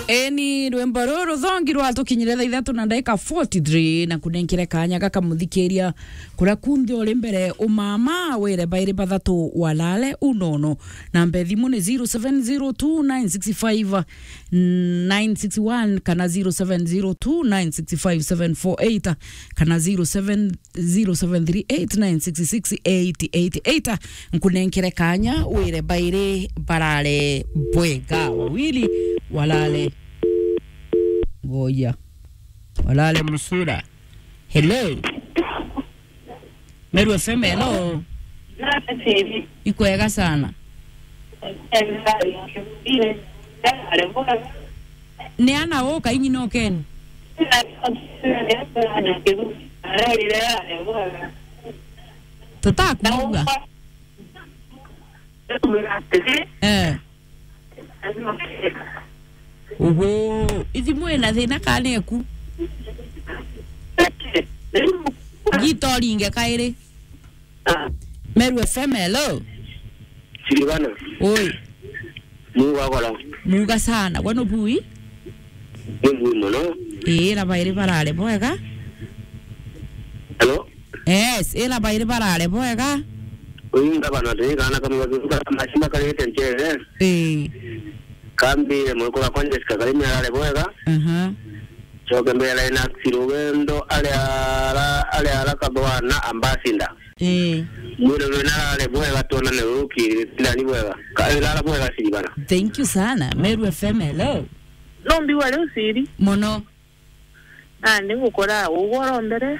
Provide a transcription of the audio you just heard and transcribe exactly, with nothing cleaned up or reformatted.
Eni, rwimbo ruru ruthongi rwatukinyire thaa ithatu na ndagika forty-three, na kunenkire kanya gaka muthikiria kuria kunthe uri mbere, umama wire bairi bathatu walale unono. Namba ya thimu ni zero seven zero two nine six five nine six one kana zero seven zero two nine six five seven four eight kana zero seven zero seven three eight nine six six eight eight eight. Nkunenkere kanya wire bairi barare bwega, wawili walale ngoya, walale musura. Hello. Meru F M, hello. Ikwega sana. Ni ana u kainyi no Ken? Tutakuuga. Eh. Ugu, ithimu ina thina kana eku? Gita uringe kairi. Meru F M, hello. Silvana. Oi. Muga gora. Muga sana. Gwe nubui? Ni bui mono. Ii, na bairi barare bwega. Hello? Yes, ii, na bairi barare bwega. Uyu ngavana ri, kana kamwe gathunga, mashima karite njere. Ii. Kambire mwekura kwa Jessica Karimi arare bwega. Aha. Coke mbere na Rugendo aria ara, aria ara kathwana ambassador. Ii. Mwire mwina arare bwega, tuonane ruki, ndani bwega. Ka, arara bwega, Silvana. Thank you sana. Meru F M, hello. No mbiwa riu Siri. Mono. Nandi ngukora ugoro mbere.